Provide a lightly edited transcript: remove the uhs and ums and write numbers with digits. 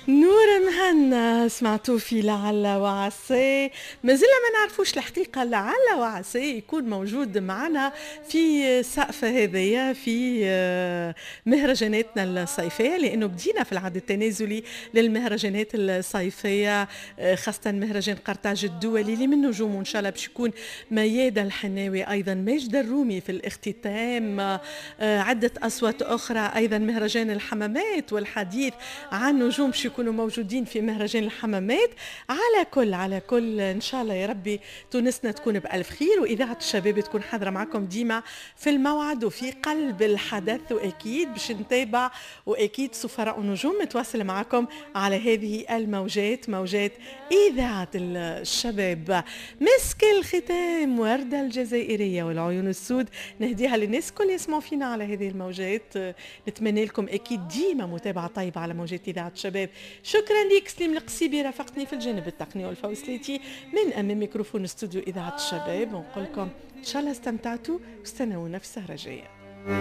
نور مهنا سمعتوا في لعل وعسى، مازلنا ما نعرفوش الحقيقة، لعل وعسى يكون موجود معنا في سقف هذايا في مهرجاناتنا الصيفية، لأنه بدينا في العد التنازلي للمهرجانات الصيفية، خاصة مهرجان قرطاج الدولي اللي من نجومه إن شاء الله باش يكون ميادة الحناوي، أيضا ماجد الرومي في الاختتام، عدة أصوات أخرى، أيضا مهرجان الحمامات والحديث عن نجوم باش يكونوا موجودين في مهرجان الحمامات. على كل ان شاء الله يا ربي تونسنا تكون بالف خير، واذاعة الشباب تكون حاضره معكم ديما في الموعد وفي قلب الحدث، واكيد باش نتابع، واكيد سفراء النجوم متواصل معكم على هذه الموجات، موجات اذاعة الشباب. مسك الختام ورده الجزائرية والعيون السود، نهديها للناس كل يسمعوا فينا على هذه الموجات. نتمنى لكم اكيد ديما متابعه طيبة على موجات اذاعة الشباب. شكرا لك سليم القصيبي، رافقتني في الجانب التقني، والفوسليتي من امام ميكروفون استوديو اذاعة الشباب. ونقول لكم ان شاء الله استمتعتوا واستنونا في السهرة الجاية.